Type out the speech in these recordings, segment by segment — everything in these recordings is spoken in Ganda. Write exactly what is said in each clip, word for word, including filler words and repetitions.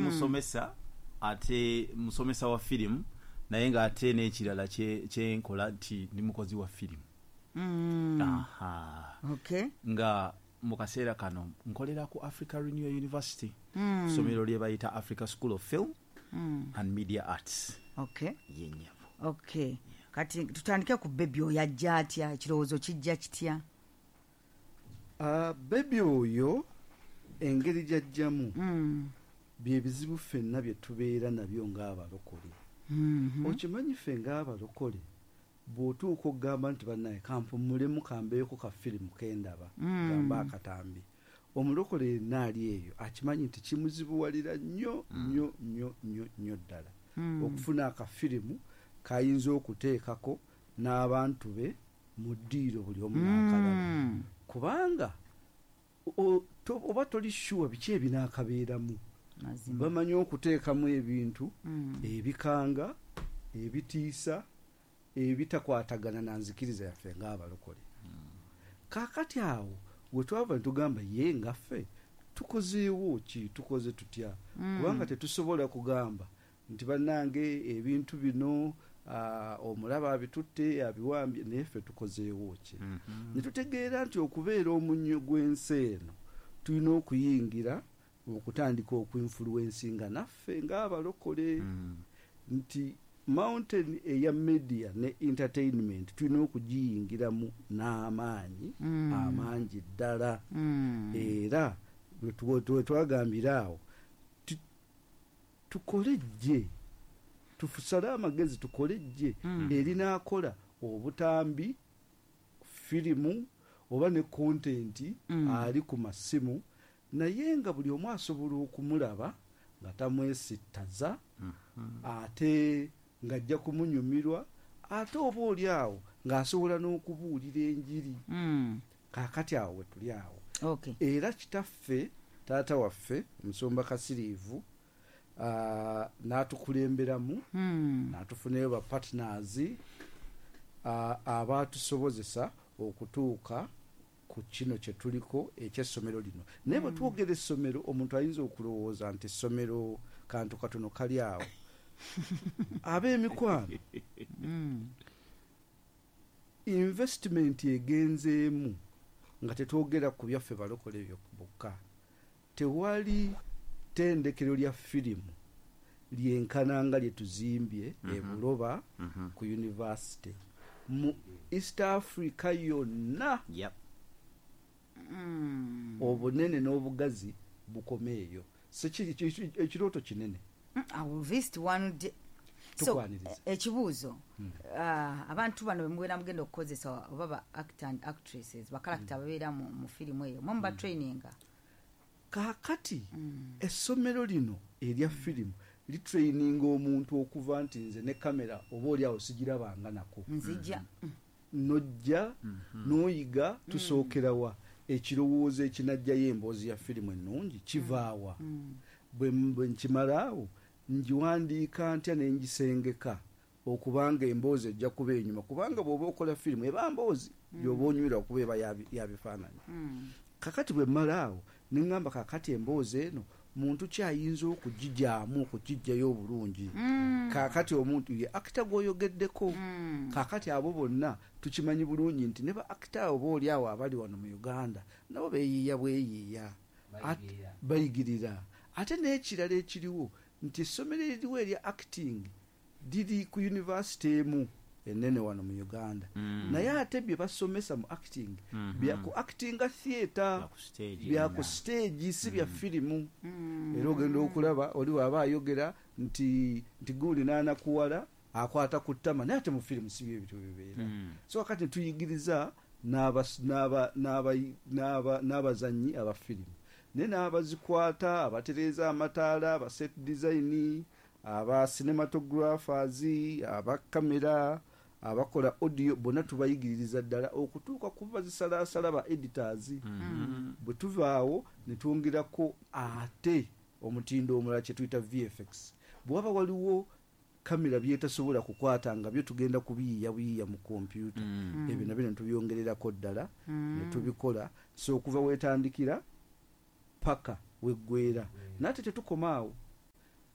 Musomesa, ate musomesa wa firimu, naye ng'ate n'ekirala kye- kyenkola nti ndi mukozi wa firimu. Mm. Aha. Okay. Nga mu kaseera kano nkolera ku Africa Renewal University, Mm. ssomero lye bayita Africa School of Film Mm. and Media Arts. Okay. Yenyabo. Okay, kati tutandike ku Baby oyo. Ajja atya? Ekirowoozo kijja kitya? Ah, Baby oyo engeri gyajjamu, Mm. bye bizibu ffenna bye tubeera nabyo ng'abalokole. Mhm. Okimanyi, ffe ng'abalokole, bw'otuuka okugamba nti, "Bannaye, kampumulemu, kambeeko ka firimu kendaba," Mm. gamba akatambi, omulokole yenna ali eyo akimanyi nti kimuzibuwalira nnyo nnyo nnyo nnyo nnyo ddala Mm. okufuna akafirimu kayinza okuteekako n'abantu be mu ddiiro, buli omu n'akalaba, Mm. kubanga o- to- oba toli sure biki ebinaakabeeramu. Mazima. Bamanyi okuteekamu ebintu Mm. ebikanga, ebitiisa, ebitakwatagana na nzikiriza yaffe ng'abalokole. Kaakati awo we twava ne tugamba, ye ngaffe tukozeewo ki? Tukoze tutya? Mm. Kubanga tetusobola kugamba nti, "Bannange, ebintu bino, ah, omulaba abitutte, abiwambye," naye ffe tukozeewo ki? Ne tutegeera nti okubeera omunnyo gw'ensi eno, tulina okuyingira okutandika okuinfluencinga naffe ng'abalokole, nti mountain eya media ne entertainment tulina okugiyingiramu n'amaanyi Mm. amangi ddala. Mm. Era bwe tu- bwe twagambira awo ti- tukole ejje, tusale amagezi, tukole ejje Mm. erinaakola obutambi, firimu oba ne content Mm. ali ku masimu, naye nga buli omu asobola okumulaba nga tamwesittaza, ate ng'ajja kumunyumirwa, ate oba oli awo ng'asobola n'okubuulira enjiri. Mm. Kaakati awo we tuli awo. Okay. Era kitaffe, taata waffe, omusumba Kasiriivu, ah, n'atukulemberamu, Mm. n'atufunayo ba partners abaatusobozesa okutuuka ku kino kye tuliko ekyessomero lino. Naye bwe twogera essomero, omuntu ayinza okulowooza nti essomero kantu katono kali awo. Ab'emikwano, Mm. investment egenzeemu, nga tetwogera ku byaffe balokole ebyo bokka, tewali ttendekero lya firimu lyenkananga lye tuzimbye e Buloba ku university mu East Africa yonna. Yep. Mm. Obunene n'obugazi bukome eyo. Sekiri ekirooto kinene. Mm, I will visit one day. So, Tukwaniriza. eh, ekibuuzo, ah, abantu bano bemubeera mugenda okukozesa, oba ba actor and actresses, ba character babeera mu, mu firimu eyo, mwe muba traininga? Kaakati essomero lino erya firimu litraininga omuntu okuva nti nze ne kamera oba oli awo sigirabanga nako, Nzija. Nojja n'oyiga tusookerawa, ekirowoozo ekinajjayo emboozi ya firimu ennungi kivaawa, bwe bwe nkimala awo ngiwandiika ntya ne ngisengeka okubanga emboozi ejja kuba enyuma, kubanga bw'oba okola firimu eba mboozi gyoba onywera okuba eba ya- ya bifaananyi. Kakati bwe mmala awo ne ŋŋamba, kakati emboozi eno muntu kyayinza okugijaamu okugijjayo obulungi? Kaakati omuntu ye actor gw'oyogeddeko. Kaakati abo bonna tukimanyi bulungi nti ne ba actor abo booli awo abali wano mu Uganda nabo beeyiiya bweyiiya. At- bayigirira. Ate n'ekirala ekiriwo nti essomero eririwo erya acting liri ku university emu enene wano mu Uganda, naye ate bye basomesa mu acting bya ku actinga theatre, Bya ku stage. Bya ku stage, si bya firimu. Era ogenda okulaba oli waaba ayogera nti nti guuli n'anakuwala akwata ku ttama, naye ate mu firimu si byo ebityo bibeera. So kakati netuyigiriza n'abas- n'aba- n'aba- n'aba- n'abazannyi aba firimu, naye n'abazikwata, abatereeza amataala, aba set design, aba cinematographers, aba kamera, abakola audio, bonna tubayigiririza ddala okutuuka ku bazisalaasala, ba editors. Bwe tuvaawo ne twongerako ate omutindo omulala kye tuyita V F X. Bwe waba waliwo kamera byetasobola kukwata, nga byo tugenda kubiyiiya buyiiya mu kompyuta, ebyo nabyo ne tubyongererako ddala ne tubikola. So okuva wetandikira paka weggwera. Naye ate tetukoma awo.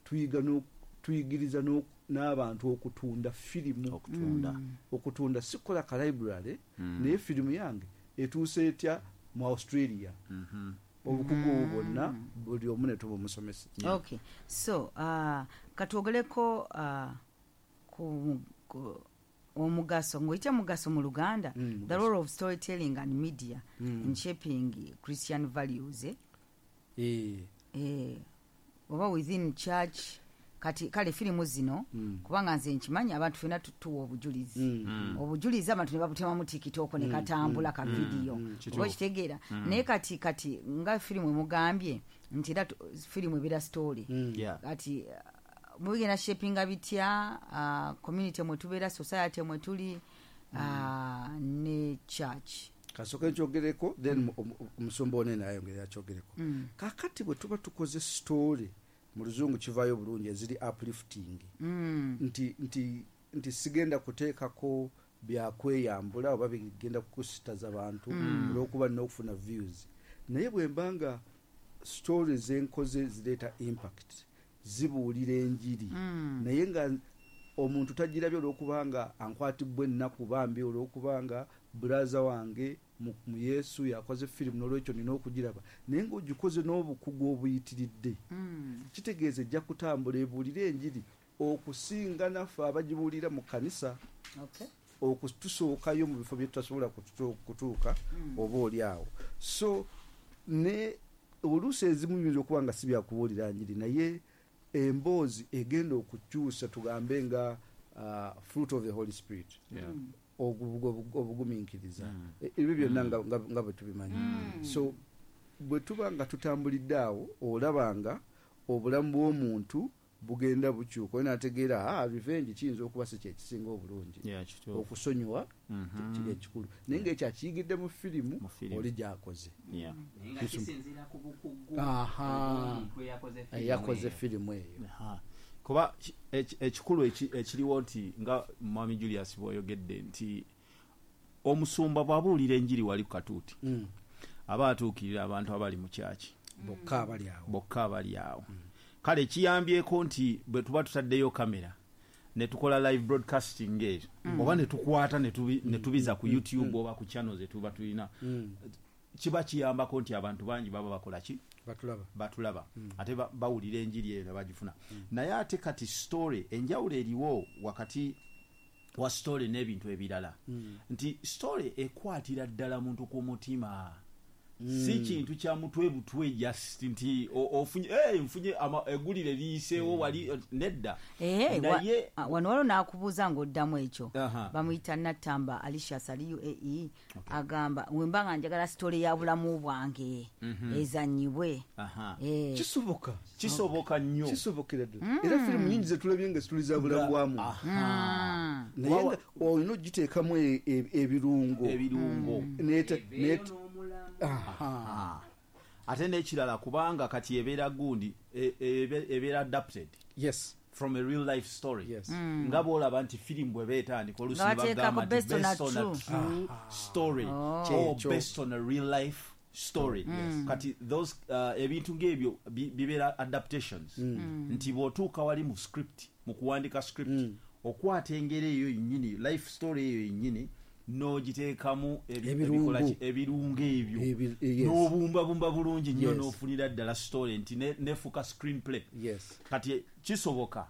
Tuyiga no tuyigiriza no n'abantu okutunda firimu okutunda Mm. okutunda sikola ka library Mm. naye firimu yange etuuse etya mu Australia. Mhm. Obukugu obwo bwonna buli omu ne tubumusomesa. Yeah. Okay, so uh, katwogereko uh, ku, ku omugaso ng'oyita mugaso mu Luganda, Mm, the role of storytelling and media Mm. in shaping Christian values, eh? Eh, Eh, oba within church. Kati kale firimu zino, Mm. kubanga nze nkimanyi abantu fena tuwa obujulizi, Mm. obujulizi abantu ne babutemamu TikTok ne katambula ka vidiyo, Kituufu. oba kitegeera. Naye kati kati nga firimu emugambye nti era tu- firimu ebeera story, Mm. Yeah. kati uh, mubigenda shapinga bitya uh, community mwe tubeera, society mwe tuli, uh, ne church? Kasooke nkyogereko, then omu- omusumba onene ayongere akyogereko. Kakati bwe tuba tukoze story, mu Luzungu kivaayo bulungi, eziri uplifting, Mm. nti nti nti sigenda kuteekako byakweyambula oba bigenda kukusitaza bantu olwokuba nina okufuna views. Naye bwe mba nga story zenkoze zireeta impact, zibuulira enjiri, Mm. naye nga omuntu tagirabye olwokubanga ankwatibwa ennaku bambi, olwokubanga brother wange mu mu Yesu yakoze firimu, n'olwekyo nina okugiraba, naye ng'ogikoze n'obukugu obuyitiridde, Mm. kitegeeza ejja kutambula ebuulire enjiri okusinga naffe abagibuulira mu kanisa, Okay. okutusookayo mu bifo bye tutasobola kutu- kutuuka oba oli awo. So ne oluusi ezimu biyinza okuba nga si byakubuulira njiri, naye emboozi egenda okukyusa, tugambe nga uh, fruit of the Holy Spirit, Yeah. ogu- ogu- obugumiikiriza, Mm. E- ebyo byonna nga- nga nga bwe tubimanyi. So bwe tuba nga tutambulidde awo, olaba nga obulamu bw'omuntu bugenda bukyuka, oyo nategeera, "Ah, revenge kiyinza okuba si kyekisinga obulungi, Yeah, kituufu. okusonyiwa Mhm. kiri ekikulu." Naye ngaekyo akiyigidde mu firimu Mu firimu. oli gyakoze. Yeah. Naye nga kisinziira ku bukugu Aha. obw'omuntu eyakoze firimu eyakoze eyo. firimu eyo. Aha. Kuba ki- eki- ekikulu eki- ekiriwo nti nga Mwami Julius bw'oyogedde nti omusumba bw'abuulira enjiri wali ku katuuti, Mm. aba atuukirira abantu abali mu kyaki bokka abali awo. Bokka abali awo. Kale kiyambyeko nti bwe tuba tutaddeyo kamera ne tukola live broadcasting eyo, oba ne tukwata ne tubi- ne tubiza ku YouTube oba ku channel ze tuba tulina, Mm. kiba kiyambako nti abantu bangi baba bakola ki? Batulaba. Batulaba, ate ba- bawulira enjiri eyo ne bagifuna. Naye ate kati story, enjawulo eriwo wakati wa story n'ebintu ebirala nti story ekwatira ddala muntu ku mutima, si kintu kya mutwe butwe just nti o- ofunye, "Eh, nfunye ama- eggulire liyiseewo wali," nedda. Eh, wa- Naye ah, wano waliwo n'akubuuza ng'oddamu ekyo. Aha. Bamuyita Natamba Alicias, ali U A E, agamba, "Wemba nga njagala story ya bulamu bwange ezanyibwe?" Aha. Eh, Kisoboka. Kisoboka nnyo. Kisobokera ddala, era firimu nyingi zetulabye nga situli za bulamu bwa muntu, Aha. naye nga olina ogiteekamu e- e- ebirungo. Ebirungo. Nete- Eveeyo nete- n'omulamu. Aha. Ah. Ate n'ekirala, kubanga kati ebeera gundi e- ebe- ebeera adapted Yes. from a real life story. Yes. Nga bwolaba nti firimu bweba etandika, oluusi Nga ne bagamba bateekako nti based on a based on a true. true story or Kyekyo. based on a real life story. Kati those uh, ebintu ng'ebyo bi- bibeera adaptations, nti bw'otuuka wali mu script, mu kuwandika script, okwata engeri eyo yennyini, life story eyo yennyini, n'ogiteekamu ebi- Ebirungo. ebikola ki? Ebirungo ebyo, Ebi- yes. n'obumbabumba bulungi nnyo, Yes. n'ofunira ddala story nti ne- nefuuka screenplay. Yes. Kati kisoboka.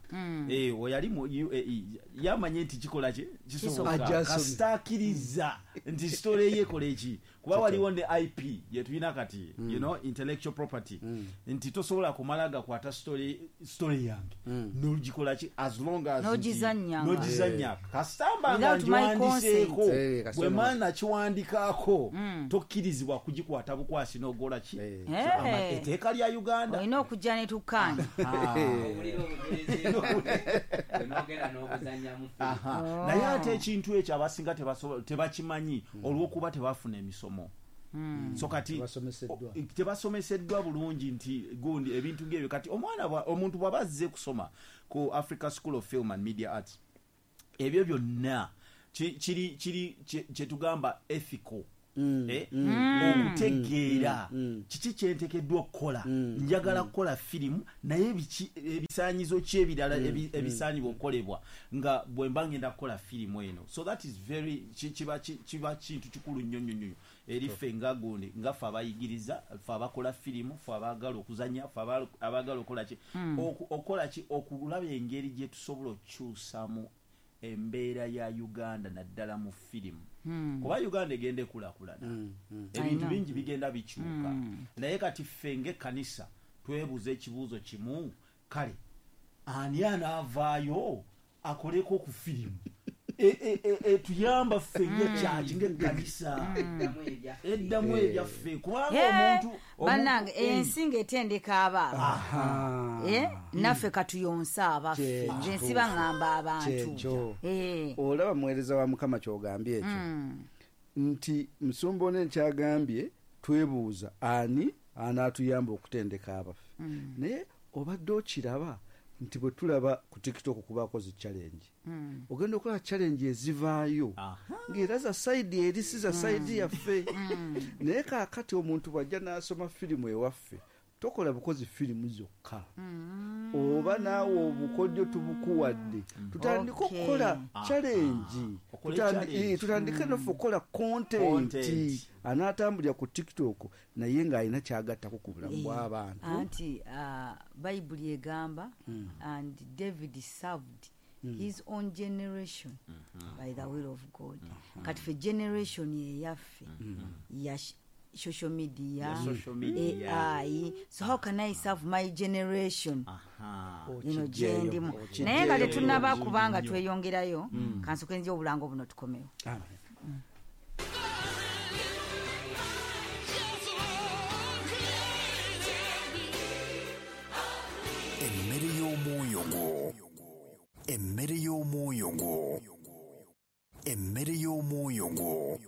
Eh, oyo ali mu U A E yamanye nti kikola ki? Kisoboka. Ajja asome. Kasita akkiriza nti story ye ekola eki, kuba waliwo ne I P yetulina kati, you know intellectual property, nti tosobola kumala gakwata story story yange nogikola ki, as long as nti- N'ogizannya nga- n'ogizannya, kasita mba nga Without my ngiwandiseeko. consent. Eh, kasita Bwe no- mala nakiwandikaako, tokkirizibwa kugikwata bukwasi n'ogola ki. Eh. So, ama- Eh. etteeka lya Uganda. Olina okujja netukkaanya. Owulira obujulizi bwange, n'ogenda n'obuzannyamu firimu. Aha. Oh. Naye ate ekintu ekyo abasinga tebasobola- tebakimanyi olw'okuba tebafuna emisomo. So kati Tebasomeseddwa. o- tebasomeseddwa bulungi nti gundi ebintu ng'ebyo. Kati omwana bwa- omuntu bw'aba azze kusoma ku Africa School of Film and Media Arts, ebyo byonna ki- kiri kiri kye- kyetugamba ethical. Eh, okutegeera kiki kyenteekeddwa okukola. Njagala kukola firimu, naye biki ebisaanyizo ki ebirala ebi- ebisaanibwa okukolebwa nga bwe mba ngenda kukola firimu eno? So that is very ki- kiba ki- kiba kintu kikulu nnyo nnyo nnyo eri ffe nga gundi, nga ffe abayigiriza, ffe abakola firimu, ffe abaagala okuzanya, ffe aba- abaagala okukola ki, Oku- okukola ki, okulaba engeri gye tusobola okukyusamu embeera ya Uganda, naddala mu firimu, kuba Uganda egenda ekulaakulana, ebintu I know. bingi bigenda bikyuka. Naye kati ffe ng'ekkanisa twebuuza ekibuuzo kimu: kale ani anaavaayo akoleko ku firimu E- e- e- etuyamba ffe ng'ekyaki, ng'ekkanisa, Eddamu ebyaffe. Eddamu ebyaffe? Kubanga Eh, omuntu omuntu- bannange, eh, ensi ng'etendeka abaaba, Eh, naffe katuyonse abaffe. Kyekyo. Nze nsiba ŋŋamba abantu. Kyekyo. Eh, Olaba, muweereza wa Mukama, kyogambye ekyo nti musumba one nkyagambye, twebuuza ani anaatuyamba okutendeka abaffe. Naye obadde okiraba nti bwe tulaba ku TikTok kubaako zi challenge, ogenda okulaba challenge ezivaayo Aha. ng'era za side eri, si za side yaffe. Naye kaakati omuntu bw'ajja n'asoma firimu ewaffe, tokola bukozi firimu zokka, oba naawe obukodyo tubukuwadde, tutandike Okay. okukola challenge. Okole Tutandi- challenge. eh, tutandike naffe okukola content Content. anaatambulira ku TikTok naye ng'alina kyagattako ku bulamu bw'abantu. Anti uh, Bayibuli egamba, "And David served his own generation by the will of God." Kati fe generation eyaffe ya sh- social media, Ya social media. A I, so how can I serve my generation? Aha. Eno Okijjeeyo, gyendimu. okijjeeyo Naye nga tetunaba, bulungi kubanga nnyo. tweyongerayo, kansooke nzija obulango buno, tukomewo. Amen. Emmere y'omwoyo gwo, emmere y'omwoyo gwo, emmere y'omwoyo gwo.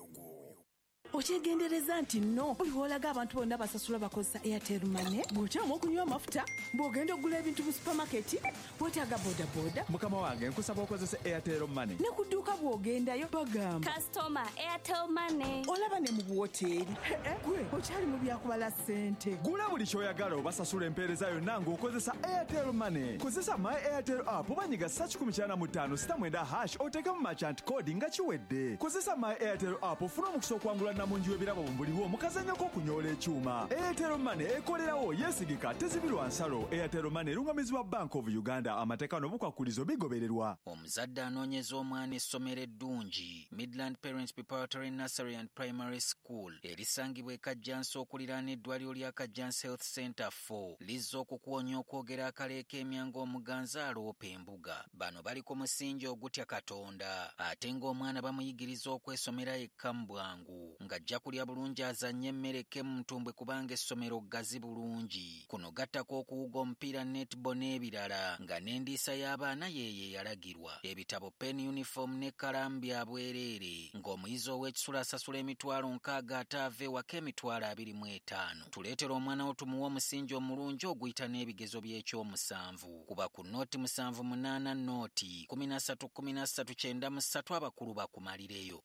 Okyegendereza nti nno buli lw'olaga abantu bonna basasula bakozesa Airtel Money. Bw'okyamu okunywa amafuta, bw'ogenda okugula ebintu mu supamaketi, weetaaga bodaboda. Mukama wange, nkusaba okozesa Airtel Money. Ne ku dduuka bw'ogendayo bagamba Customer, Airtel Money. Olaba ne mu buwoteeri. Gwe okyali mu byakubala ssente. Gula buli ky'oyagala oba sasula empeereza yonna ng'okozesa Airtel Money. Kozesa My Airtel app oba nyiga sa kikumi kyana mu ttaano sita mwenda hash, oteekemu merchant code nga kiwedde. Kozesa My Airtel app ofune omukisa okwangula namungi w'ebirabo buliwo mu kazannyo k'okunyoola ekyuma. Airtel Money ekolerawo, yeesigika, tezibirwa nsalo. Airtel Money erungamizibwa Bank of Uganda. Amateeka n'obukwakulizo bigobererwa. Omuzadde anoonyeza omwana essomero eddungi, Midland Parents Preparatory Nursery and Primary School erisangibwa e Kajjansi okuliraana eddwaliro lya Kajjansi Health Center four, lizza okukuwonya okwogera akaleeka emyanga omuganzi aloopa embuga. Bano bali ku musingi ogutya Katonda, ate ng'omwana bamuyigiriza okwesomera yekka mu bwangu, ng'ajja kulya bulungi, azannye emmere ke mu ntumbwe, kubanga essomero ggazi bulungi. Kuno gattako okuwuga omupiira, netball n'ebirala, nga n'endiisa y'abaana yeeyo eyalagirwa. Ebitabo, pen, uniform n'ekkalaamu bya bwereere, ng'omuyizi ow'ekisula asasula emitwalo nkaaga, ate ava ewaka emitwalo abiri mu etaano. Tuleetera omwana wo tumuwe omusingi omulungi oguyita n'ebigezo by'ekyomusanvu. Kuba ku nooti musanvu munaana nooti kumi na ssatu kumi na ssatu kyenda mu ssatu, abakulu bakumalireyo.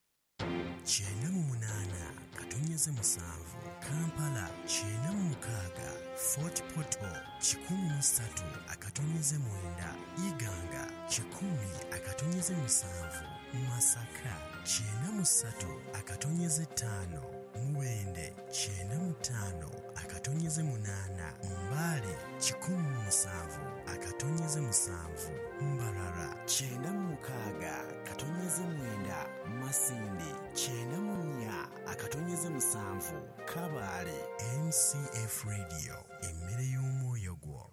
Kyenda mu munaana katonyeze musanvu Kampala, kyenda mu mukaaga Fort Portal, kikumi mu ssatu akatonyeze mwenda Iganga, kikumi akatonyeze musanvu Masaka, kyenda mu ssatu akatonyeze ttaano Mubende, kyenda mu ttaano akatonyeze munaana Mbale, kikumi mu musanvu akatonyeze musanvu Mbarara, kyenda mu mukaaga katonyeze mwenda Masindi, kyenda mu nnya akatonyeze musanvu Kabaale. M C F Radio, emmere y'omwoyo gwo.